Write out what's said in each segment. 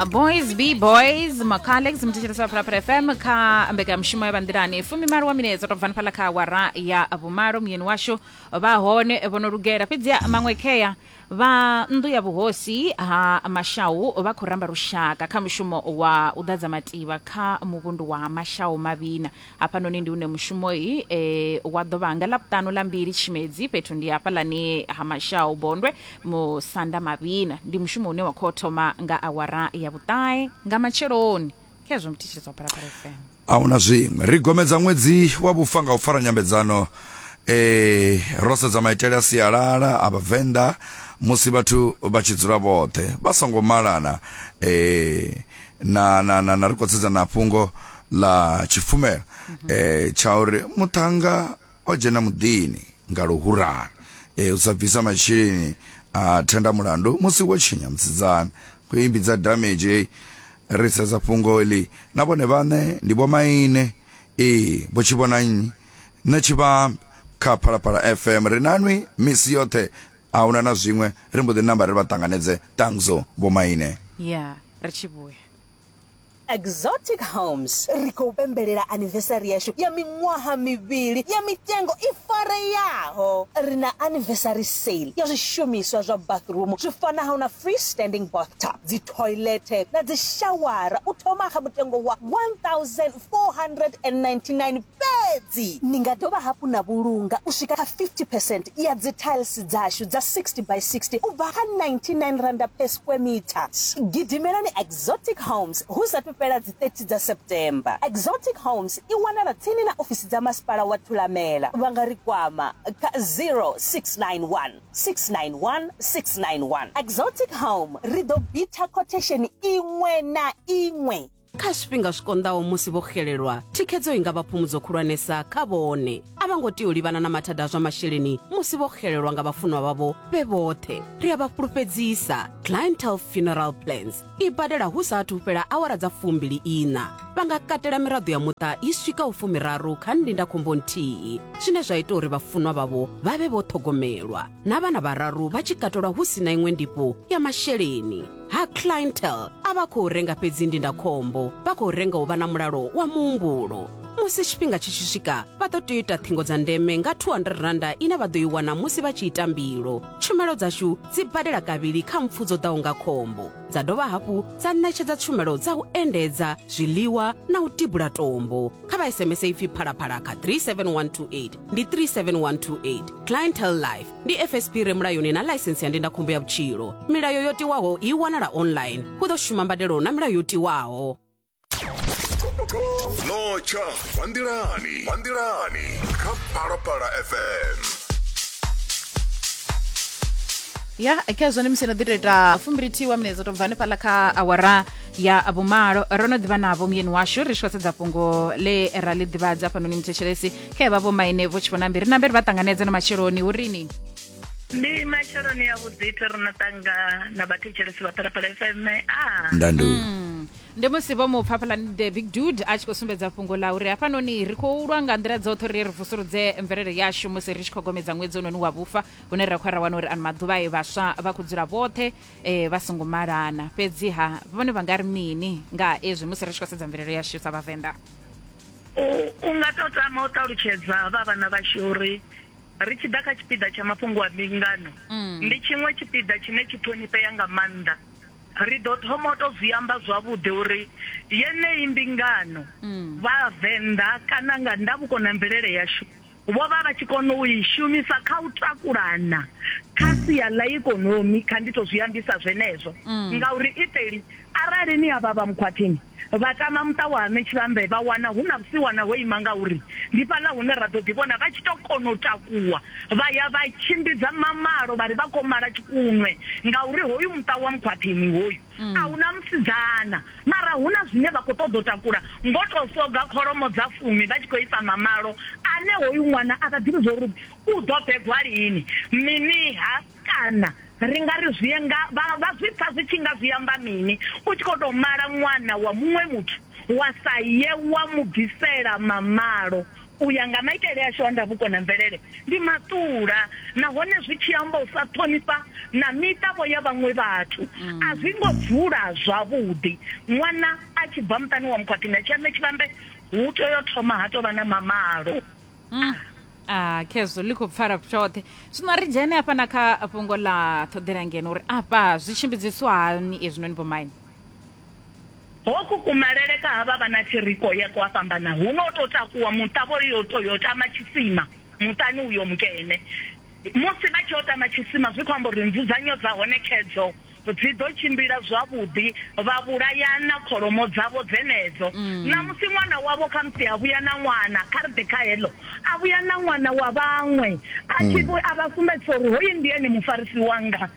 Boys Be Boys, Macalex muthetshelesi wa Phalaphala FM kha mbekanyamushumo ya vhanḓilani 18 wa minetse to bva fhala kha awara ya vhumalo. Muyeni washu vha hone vho no lugela, fhedzi maṅwe khea vha nnḓu ya vhuhosi ha Mashau vha khou ramba lushaka kha mushumo wa u ḓadza mativha kha muvhundu wa Mashau Mavhina. Hafhanoni ndi hune mushumo i e, wa ḓo vha nga Ḽavhuṱanu ḽa 2 Tshimedzi, fhethu ndi hafhaḽani ha Mashau Bondwe Musanda Mavhina. Ndi mushumo une wa khou thoma nga awara ya vhuṱahe nga matsheloni. Khezwo muthetshelesi wa Phalaphala FM. A huna zwiṅwe. Ri gomedza ṅwedzi wa vhufa nga u fara nyambedzano e, ro sedza maitele a sialala a Vhavenḓa musi vhathu vha tshi dzula vhoṱhe vha songo malana e, na, na, na, na ri khou sedza na fhungo ḽa tshipfumela eh, tsha uri muṱhannga o dzhena muḓini nga luhurani eh, u sa bvisa masheleni a thenda mulandu musi wo tshinya musidzana khou imbidza damage hei ri sedza fhungo iḽi na vhone vhaṋe ndi vhomaine ee vho tshi vhona nnyi nṋe tshivha kha Phalaphala FM ri nanwi misi yoṱhe a huna na zwiṅwe ri mbo ḓi namba ri vha ṱanganedze tangzo vhomaine ya ri tshi vhuya. Exotic Homes ri khou pembelela anniversary yashu ya miṅwaha mivhili ya mitengo i fareaho. Ri na anniversary sale ya zwishumiswa zwa bathroom zwi fanaho na freestanding bathtub, dzi thoilethe na dzi shawara u thoma kha mutengo wa 1499 fhedzi. Ni nga dovha hafhu na vhulunga u swika kha 50 percent ya dzi tiles dzashu dza 60 by 60 u bva kha R99 per square meter. Gidimelani Exotic Homes hu sathu fhela dzi 30 dza September. Exotic Homes i wanala tsini na ofisi dza masipala wa Thulamela. Vha nga ri kwama kha 0691 691 691. Exotic Home, ri ḓo bitha khothesheni iṅwe na iṅwe. Kha zwifhinga zwi konḓaho musi vho xelelwa, thikhedzo i nga vha phumudzo khulwanesa kha vhone. A vha ngo tea u livhana na mathada a zwa masheleni musi vho xelelwa nga vhafunwa vhavho vhe vhoṱhe. Ri a vha fhulufhedzisa, Clientele Funeral Plans i badela hu sa athu fhela awara dza 24. Vha nga katela miraḓo ya muṱa i swikaho fumiraru kha ndindakhombo nthihi, zwine zwa ita uri vhafunwa vhavho vha vhe vho ṱhogomelwa, na vhana vhararu vha tshi katelwa hu si na iṅwe ndifho ya masheleni. Ha Clientele a vha khou renga fhedzi ndindakhombo, vha khou renga u vha na mulalo wa muhumbulo. Musi tshifhinga tshi tshi swika, vha ḓo tea u ita ṱhingo dza ndeme nga R200 ine vha ḓo i wana musi vha tshi ita mbilo. Tshumelo dzashu dzi badela kavhili kha mpfu dzo ḓaho nga khombo, dza dovha hafhu dza ṋetshedza tshumelo dza u endedza, zwiḽiwa na u tibula tombo. Kha vha SMS ipfi Phalaphala kha 37128, ndi 37128. Clientele Life. Ndi FSP re mulayoni na ḽaisentsi ya ndindakhombo ya vhutshilo. Milayo yo tiwaho i wanala online. Hu ḓo shuma mbadelo na milayo yo tiwaho. Notsha vha nḓilani, vha nḓilani kha Phalaphala FM. Ya khezwo ndi musi no ḓi tou ita fumbili wa minetse to bva hanefhaḽa kha awara ya vhumalo. Ro no ḓivha navho muyeni washu ri tshi khou sedza fhungo ḽe ra ḽi ḓivhadza hafhanoni muthetshelesi khe vha vho maine vho tshi vhona mbiri nambe ri vha ṱanganedze na matsheloni hu rini. Ndi matsheloni a vhuḓi the ro no tanga na vhathetshelesi vha Phalaphala FM a Ndandu. Ndi musi vho mu pfa hafhaḽani the big dude a tshi khou sumbedza fhungo ḽa uri hafhanoni ri khou lwa nga nḓila dzoṱhe uri ri vusuludze mvelele yashu musi ri tshi khou gomedza ṅwedzi unoni wa vhufa hune ra khou ra wana uri ano maḓuvha e vhaswa vha khou dzula vhoṱhe e, vha songo malana. Fhedziha vhone vha nga ri mini nga ezwi musi ri tshi khou sedza mvelele yashu sa vhavenḓa? U, u nga tou tama u ṱalutshedza vha vhana vhashu uri ri tshi ḓa kha tshipiḓa tsha mafhungo a mbingano, ndi tshiṅwe tshipiḓa tshine tshi ṱhonifhea nga maanḓa. Ri ḓo thoma u tou zwi amba zwavhuḓi uri yeneyi mbingano Vhavenḓa kana nga ndavhuko na mvelele yashu vho vha vha tshi kona u i shumisa kha u takulana kha sia ḽa ikonomi, kha ndi tou zwi ambisa zwenezwo, ngauri iṱeli arali ni avha vha Mukhwathini vha tama muṱa wa ha Ṋetshivhambe vha wana hu na vhusiwana ho ima ngauri ndi fhaḽa hune ra ḓo ḓi vhona vha tshi tou kona u takuwa vha ya vha tshimbidza mamalo vha ri vha khou mala tshikunwe ngauri hoyu muṱa wa Mukhwathini hoyu a hu na musidzana mara hu na zwine vha khou ṱoḓa u takula ngo tou soga kholomo dza fumi vha tshi khou isa mamalo ane hoyu ṅwana a vha ḓivhi zwa uri u ḓo bebwa lini mini-ha kana ri nga ri zwi nga vha vha zwi pfa zwi tshi nga zwi amba mini u tshi khou tou mala ṅwana wa muṅwe muthu wa sa ye wa mu bvisela mamalo. U ya nga maitele ashu a ndavhuko na mvelele, ndi maṱula nahone zwi tshi amba u sa ṱhonifha na miṱa-vho ya vhaṅwe vhathu. A zwi ngo dzula zwavhuḓi. Ṅwana a tshi bva muṱani wa mukhwathini a tshi ya Ṋetshivhambe, hu tea u thoma ha tou vha na mamalo. Ah, khezwo ḽi khou pfala tshoṱhe. Zwino ri dzhene hafha na kha fhungo ḽa ṱhoḓela ngeno uri afha zwi tshimbidziswa hani ezwinoni vhomaine. Hoku kumalele ka havha vhana thiriko ye kwa fhambana, huno u tou takuwa muṱa vho yo tou yo tama tshisima muṱani uyo mukene. Musi vha tshi yo tama tshisima zwi khou amba uri nzudzanyo dza hone khedzo dzi ḓo tshimbila zwavhuḓi, vha vhulayana kholomo dzavho dzenedzo. Ṋamusi ṅwana wavho khamusi a vhuya na ṅwana, kha ri ḓe kha heḽo, a vhuya na ṅwana wa vhaṅwe a tshi a vha sumbedzisa uri hoyu ndi ene mufarisi wanga.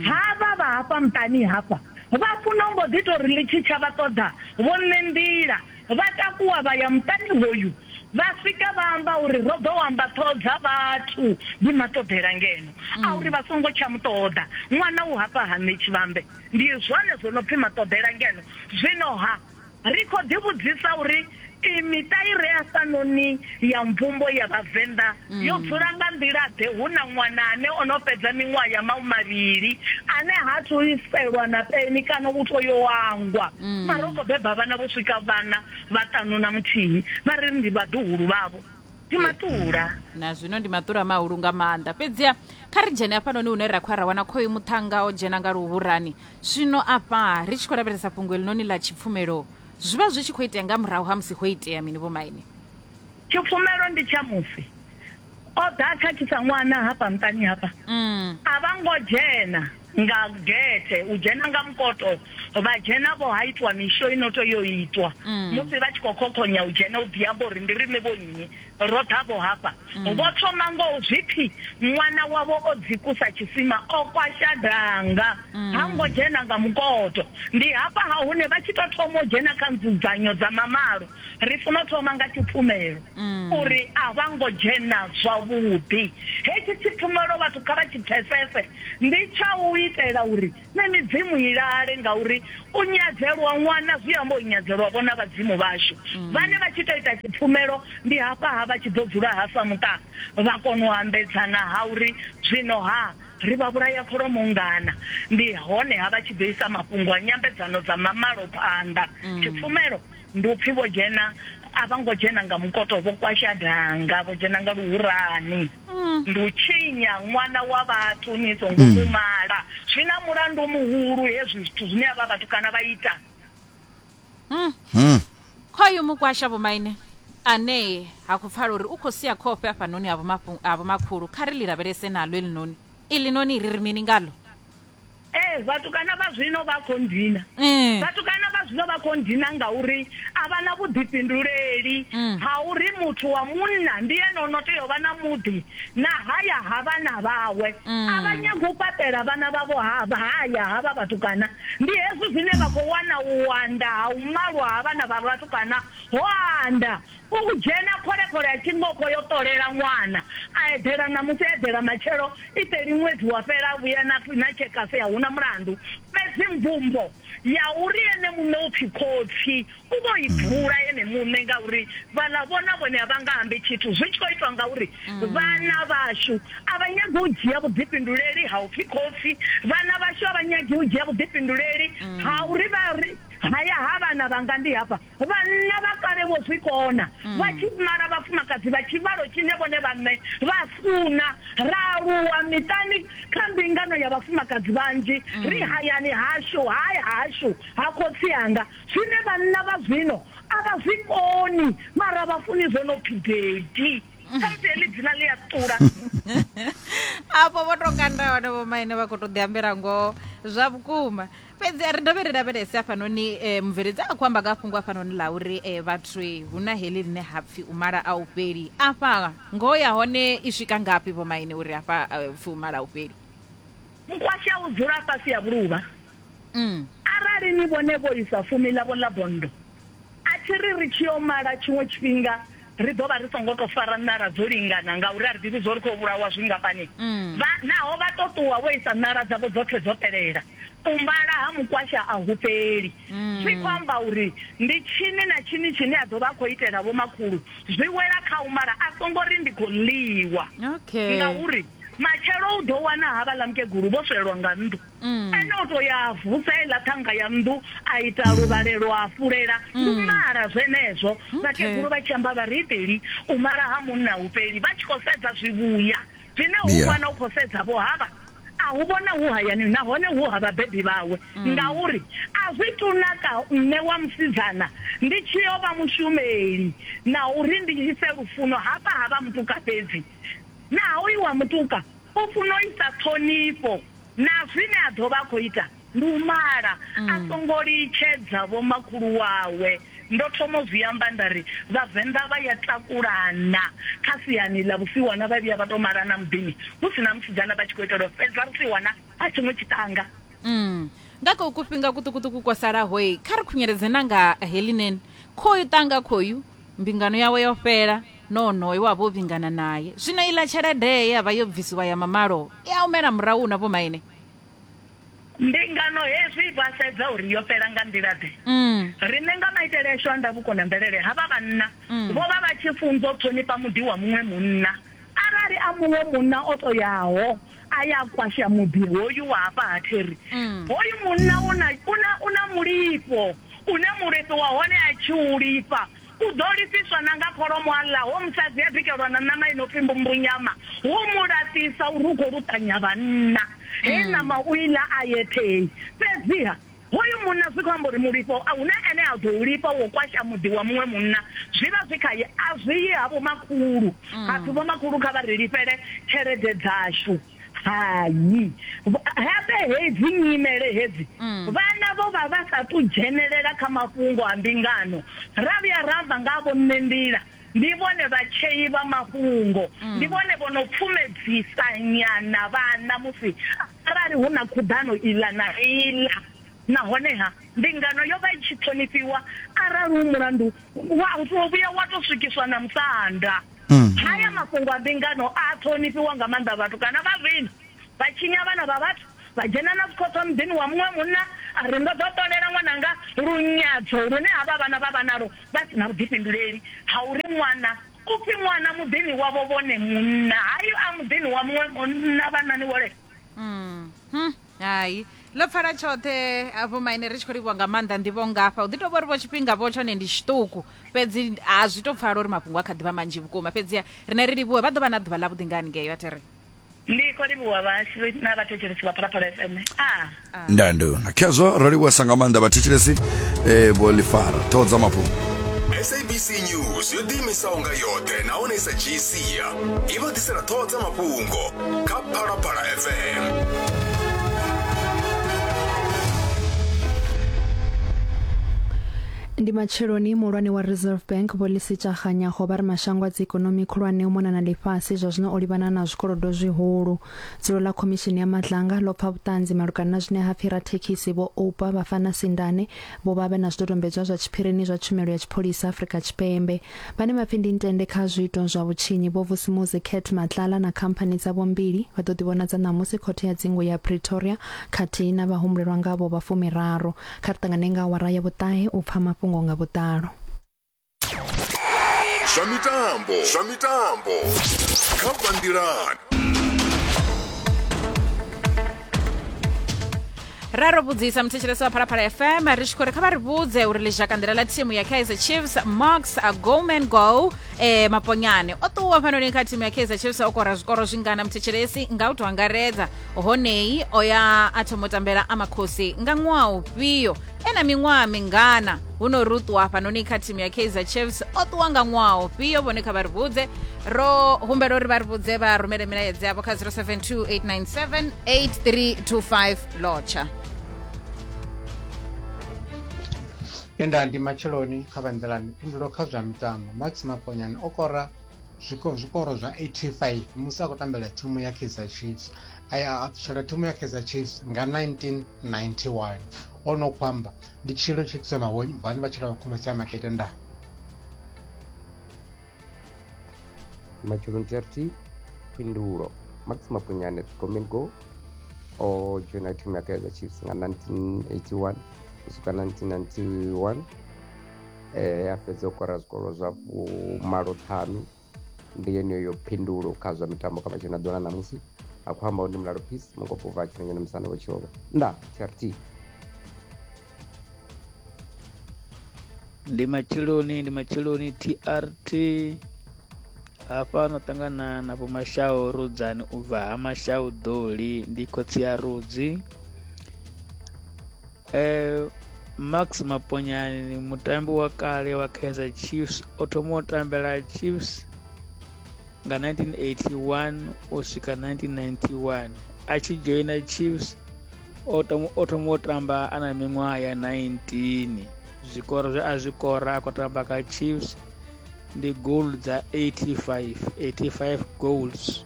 Havha vha hafha muṱani hafha Vha funa u mbo ḓi tou ri ḽi tshi tsha vha ṱoḓa vho nṋe nḓila. Vha takuwa vha ya muṱani hoyu, vha swika vha amba uri ro ḓo amba ṱhoho dza vhathu ndi maṱoḓela ngeno a uri vha songo tsha mu ṱoḓa. Ṅwana u hafha ha nṋe Tshivhambe. Ndi zwone zwo no pfi maṱoḓela ngeno. Zwino-ha Ri khou ḓivhudzisa uri iyi miṱa i re hafhanoni ya mvumbo ya Vhavenḓa yo dzula nga nḓila-ḓe hu na ṅwana ane o no fhedza miṅwaha ya mahumavhili ane ha athu iselwa na peni kana u tou yo angwa mara u khou beba vhana vho swika vhana vhaṱanu na muthihi vha ri ndi vhaḓuhulu vhavho. Ndi maṱula. Na zwino ndi maṱula mahulu nga maanḓa. Fhedziha kha ri dzhene hafhanoni hune ra khou ya ra wana khoyu muṱhannga o dzhena nga luhurani. Zwino afha ri tshi khou lavhelesa fhungo helinoni ḽa tshipfumelo, zwi vha zwi tshi khou itea nga murahu ha musi ho itea mini vhomaine? Tshipfumelo ndi tsha musi o ḓa a khakhisa ṅwana hafha muṱani hafha. A vha ngo dzhena nga gethe, u dzhena nga mukoto, vha dzhena vho ha itwa misho i no tea u itwa musi vha tshi khou khokhonya u dzhena u ḓi amba uri ndi riṋe vho nnyi, ro ḓa vho hafha. Vho thoma ngo u zwi pfi ṅwana wavho o dzikusa tshisima, o kwasha danga, ha ngo dzhena nga mukoto. Ndi hafha ha hune vha tshi tou thoma u dzhena kha nzudzanyo dza mamalo, ri funa u thoma nga tshipfumelo uri a vha ngo dzhena zwavhuḓi. Hetshi tshipfumelo vhathu kha vha tshi pfesese, ndi tsha u itela uri na midzimu i lale, ngauri u nyadzelwa ṅwana zwi amba u nyadzelwa vho na vhadzimu vhashu. Vhane vha tshi tou ita tshipfumelo ndi hafha ha vha tshi ḓo dzula ha sa muṱa vha kona u ambedzana ha uri zwino ha ri vha vhulaya kholomo nngana, ndi hone ha vha tshi ḓo isa mafhungo a nyambedzano dza mamalo phanḓa. Tshipfumelo ndi u pfi vho dzhena, a vha ngo dzhena nga mukoto, vho kwasha danga, vho dzhena nga luhurani. Ndi u tshinya ṅwana wa vhathu ni songo mu mala. Zwi na mulandu muhulu hezwi zwithu zwine avha vhatukana vha ita. Khoyu mukwasha vhomaine ane ha khou pfala uri u khou sia khofhe hafhanoni ha vhomakhulu, kha ri ḽi lavhelese naḽo eḽinoni. Iḽinoni ri ri mini ngaḽo? Ee, vhatukana vha zwino vha khou ndina. Vhatukana vha zwino vha khou ndina ngauri a vha na vhuḓifhinduleli ha uri muthu wa munna ndi ene o no tea u vha na muḓi na haya ha vhana vhawe. A vha nyagi u fhaṱela vhana vhavho ha haya havha vhatukana. Ndi hezwi zwine vha khou wana u anda ha u malwa ha vhana vha vhatukana ho anda. U dzhena khole-khole a tshi ngo khou yo ṱolela ṅwana, a eḓela ṋamusi a eḓela matshelo, iṱeli ṅwedzi wa fhela a vhuya na na tshekasi a hu na mulandu. Fhedzi mvumbo ya uri ene muṋe u pfi khotsi u vho i bvula ene muṋe ngauri vhaḽa vho na vhone a vha nga ambi tshithu zwi tshi khou itwa ngauri vhana vhashu a vha nyagi u dzhia vhuḓifhinduleli ha u pfi khotsi, vhana vhashu a vha nyagi u dzhia vhuḓifhinduleli ha uri vha ri haya ha vhana vhanga ndi hafha. Vhanna vha kale vho zwi kona, vha tshi mala vhafumakadzi vha tshivhalo tshine vhone vhaṋe vha funa. Ra aluwa miṱani kha mbingano ya vhafumakadzi vhanzhi, ri hayani hashu, haya hashu ha khotsi anga. Zwine vhanna vha zwino a vha zwi koni, mara vha funi zwo no pfi daddy. Khamusi heḽi dzina ḽi a ṱula. Afho vho tou kanda hone vhomaine vha khou tou ḓiambela ngoho zwa vhukuma. Fhedzi a ri dovhe ri lavhelese hafhanoni eh, mubveledzi a khou amba nga fhungo hafhanoni ḽa uri eh, vhathu eh, hu na heḽi ḽine ha pfi u mala a u fheli. Afha ngoho ya hone i swika ngafhi vhomaine uri afha eh, pfi u mala a u fheli? Mukwasha u dzula fhasi ha vhuluvha. Arali ni vhone vho isa fumi ḽavho ḽa bonndo, a thi ri ri tshi yo mala tshiṅwe tshifhinga ri ḓo vha ri songo tou fara ṋala dzo lingana ngauri a ri ḓivhi zwo ri khou vhulawa zwingafhani. Vha, naho vha tou ṱuwa vho isa ṋala dzavho dzoṱhe dzo fhelela. U mala ha mukwasha a hu fheli. Zwi khou amba uri ndi tshini na tshini tshine a ḓo vha a khou itela vhomakhulu zwi wela kha u mala a songo ri ndi khou ḽiwa. Okay. Ngauri matshelo u ḓo wana havhaḽa mukegulu vho swelwa nga nnḓu. Ene o tou ya a vusa heiḽa ṱhanga ya nnḓu a ita luvhalelo a fulela. Ndi u mala zwenezwo. Vhakegulu vha tshi amba vha ri, Iṱeli, u mala ha munna a hu fheli. Vha tshi khou sedza zwivhuya zwine hu wana u khou sedza vho havha. A hu vhona hu hayani nahone hu ha vhabebi vhawe, ngauri a zwi tu naka nṋe wa musidzana ndi tshi yo vha mushumeli na uri ndi ise lufuno hafha ha vha mutuka fhedzi. Na hoyu wa mutuka u funa u isa ṱhonifho na zwine a ḓo vha a khou ita ndi u mala a songo litshedza vhomakhulu wawe. Ndo thoma u zwi amba nda ri, Vhavenḓa vha ya takulana kha siani ḽa vhusiwana vha vhuya vha tou malana muḓini hu si na musidzana vha tshi khou itela u fhedza vhusiwana ha tshiṅwe tshiṱanga. Nga kha kufhinga kuṱukuṱuku kwo salahoi, kha ri khunyeledze na nga heḽinoni. Khoyu ṱanga khoyu, mbingano yawe yo fhela, na onoyo we a vha o vhingana nae. Zwino iḽa tshelede ye ya vha yo bvisiwa ya mamalo i a humela murahu na vhomaine? Mbingano hezwi vha sedza uri yo fhela nga nḓila-ḓe. Riṋe nga maitele ashu a ndavhuko na mvelele, havha vhanna vho vha vha tshi funzwa u ṱhonifha muḓi wa muṅwe munna. Arali a muṅwe munna o tou yaho a ya a kwasha muḓi hoyu wa hafha ha Terry, hoyu munna u na, u na, u na mulifho une mulifhi wa hone a tshi u lifha u ḓo lifhiswa na nga kholomo a ḽa, ho musadzi a bikelwa na ṋama i no pfi mbumbunyama, hu mu laṱisa uri u khou luṱanya vhanna. Hei ṋama u i ḽa a yeṱhei. Fhedziha, hoyu munna zwi khou amba uri mulifho a hu na ene a ḓo u lifha wo kwasha muḓi wa muṅwe munna, zwi vha zwi khae, a zwi yi ha vhomakhulu. Ha pfi vhomakhulu kha vha ri lifhele tshelede dzashu. Hai. Habe hedzi nyimele hedzi, vhana vho vha vha sa tu dzhenelela kha mafhungo a mbingano. Ra vhuya ra amba nga ha vho Ṋenḓila, ndi vhone vhatshei vha mafhungo, ndi vhone vho no pfumedzisa nyana vhana musi arali hu na khuḓano iḽa na iḽa. Nahone-ha, mbingano yo vha i tshi ṱhonifhiwa arali hu mulandu wa u tou vhuya wa tou swikiswa na musanda. Haya mafhungo a mbingano a ṱhonifhiwa nga maanḓa vhatukana vha zwino vha tshinya vhana vha vhathu, vha dzhena na zwikhoṱho muḓini wa muṅwe munna a ri ndo ḓo ṱolela ṅwananga lunyadzo lune havha vhana vha vha nalwo vha si na vhuḓifhinduleli ha uri ṅwana u pfi ṅwana muḓini wavho vhone munna hayo a muḓini wa muṅwe munna vhanani wole. Hai, ḽo pfala tshoṱhe afho maine ri tshi khou livhuwa nga maanḓa nḓivho ngafha u ḓi tou vha uri vho tshifhinga vho tshone ndi tshiṱuku fhedzi a zwi tou pfala uri mafhungo a kha ḓivha manzhi vhukuma fhedziha rine ri livhuwe vha ḓo vha na ḓuvha ḽavhuḓi nga haningei vha tere Ndi khou livhuwa vhahashu na vhathetshelesi vha Phalaphala FM. A. Ndanduna khezwo ro livhuwesa nga maanḓa vhathetshelesi vho ḽifara ṱhoho dza mafhungo. SABC News yo ḓiimisaho nga yoṱhe nahone i sa dzhii sia i vha ḓisela ṱhoho dza mafhungo kha Phalaphala FM. Ndi matsheloni muhulwane wa Reserve Bank Vho Lesetja Kganyago vha ri mashango a dziikonomi khulwane u mona na ḽifhasi zwa zwino o livhana na zwikolodo zwihulu. Dzulo ḽa Khomishini ya Madlanga ḽo pfa vhuṱanzi malugana na zwine ha pfi rathekhisi Vho Oupa Bafana Sindane vho vha vhe na zwidodombedzwa zwa tshiphirini zwa tshumelo ya tshipholisa Afrika Tshipembe. Vhane vha pfi ndi ntende kha zwiito zwa vhutshinyi Vho Vusimuzi Cat Matlala na khamphani dzavho mbili vha ḓo ḓivhonadza ṋamusi khothe ya dzingu ya Pretoria khathihi na vhahumbulelwa ngavho vha fumiraru. Kha ri ṱangane nga awara ya vhuṱahe u pfa mafhungo nga vhuḓalo. Zwa mitambo, zwa mitambo kha Vhanḓilani. Ra ro vhudzisa muthetshelesi wa Phalaphala FM ri tshi khou ri kha vha ri vhudze uri ḽizhakanḓila ḽa thimu ya Kaizer Chiefs Marks Goman Go Maponyane o ṱuwa fhanoni kha thimu ya Kaizer Chiefs o kora zwikoro zwingana muthetshelesi nga u tou angaredza honei o ya a thoma u tambela Amakhosi nga ṅwaha ufhio e na miṅwaha mingana hu no ri u ṱuwa hafhanoni kha thimu ya Kaizer Chiefs o ṱuwa nga ṅwaha ufhio vhone kha vha ri vhudze ro humbela uri vha ri vhudze vha rumele milaedza yavho kha 0728978325 lotsha. Enda ndi matsheloni kha vha nḓilani phindulo kha zwa mitambo Max Maponyane o kora zwiko zwikoro zwa 85 musi a khou tambela thimu ya Kaizer Chiefs a ya a ṱutshela thimu ya Kaizer Chiefs nga 1991 o no khou amba ndi tshilo tshi tsema vhane vha tshila khomese ya makete nda. Matsheloni TRT, Phindulo, Max Mapunyane, Gomengo. O joina thimu ya Kaizer Chiefs nga 1981 u swika 1991, a fhedza u kora zwikolo zwa 85. Ndi yeneyo phindulo kha zwa mitambo kha matshelo na ḓuvha ḽa ṋamusi. A khou amba ndi Mulalo Peace Mukopo bva Tshilengene Musanda wa Tshiovha. Nda TRT. Ndi matsheloni TRT. Hafha no ṱangana na Vho Mashau Rudzani u bva ha Mashau Doli, ndi khotsi ya Rudzi. Max Maponyane mutambi wa kale wa Kaizer Chiefs, o thoma u tambela Chiefs nga 1981 u swika 1991. A tshi joina Chiefs o thoma u tamba ana miṅwaha ya 19. Zwikoro zwe a zwi kora a khou tamba kha Chiefs ndi goal dza 85 goals.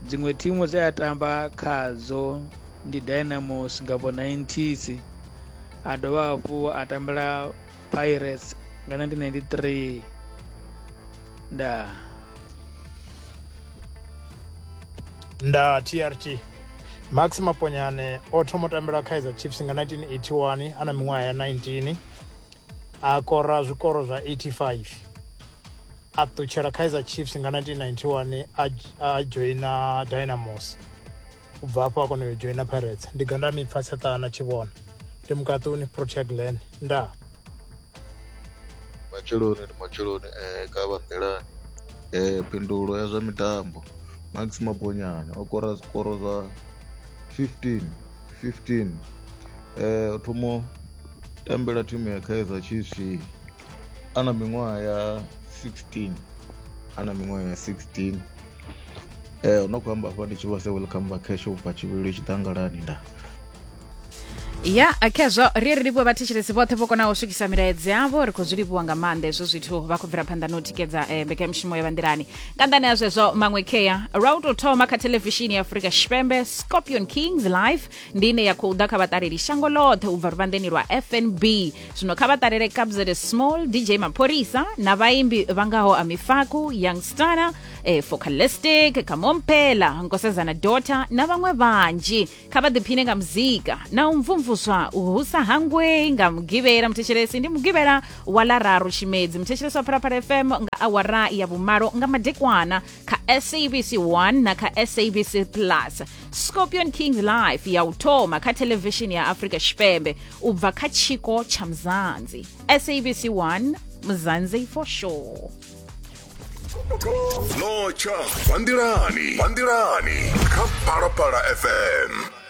Dziṅwe thimu dze a tamba khadzo ndi Dynamos nga vho 90s, a dovha hafhu a tambela Pirates nga 1993. Nda TRT. Max Maponyane o thoma u tambela Kaizer Chiefs nga 1981 ana miṅwaha ya 19, a kora zwikoro zwa 85. A ṱutshela Kaizer Chiefs nga 1991 a joina Dynamos. U bva hafho a kona u joina Pirates. Ndi ganda mipfa tseṱana tshivhona. Ndi Mukaṱuni Protea Glen. Nda. Matsheloni ndi matsheloni kha vha nḓilani. Phindulo ya zwa mitambo Max Maponyane o kora zwikoro zwa 15. O thoma tambela thimu ya Kaizer Chiefs ana miṅwaha ya 16. No khou amba afha ndi tshi vha se welcome back cash u bva tshivhilo tshiḓangalani. Nda ya khezwo ri ri livhuwe vhathetshelesi vhoṱhe vho konaho u swikisa milaedza yavho. Ri khou zwi livhuwa nga maanḓa hezwo zwithu. Vha khou bvela phanḓa na u tikedza mbekanyamushumo ya vhanḓilani. Nga nḓani ya zwezwo maṅwe kheya lwa u tou thoma kha thelevishini ya Afrika Tshipembe, Scorpion Kings Live ndi ine ya khou ḓa kha vhaṱaleli shango ḽoṱhe u bva luvhanḓeni lwa FNB. Zwino kha vha ṱalele Kabza De Small, DJ Maphorisa na vhaimbi vha ngaho Amifaku, Young Stunna, Focalistic, Kamomphela, Nkosazana Daughter na vhaṅwe vhanzhi. Kha vha ḓiphine nga muzika na u mvumvuswa hu sa hangwei nga Mugivhela. Muthetshelesi ndi Mugivhela wa ḽa 3 Tshimedzi. Muthetshelesi wa Phalaphala FM nga awara ya 8 nga madekwana kha SABC 1 na kha SABC Plus. Scorpion Kings Live ya u thoma kha thelevishini ya Afrika Tshipembe u bva kha tshiko tsha Mzansi. SABC 1, Mzansi for sure. Notsha Vanḓilani kha Phalaphala FM.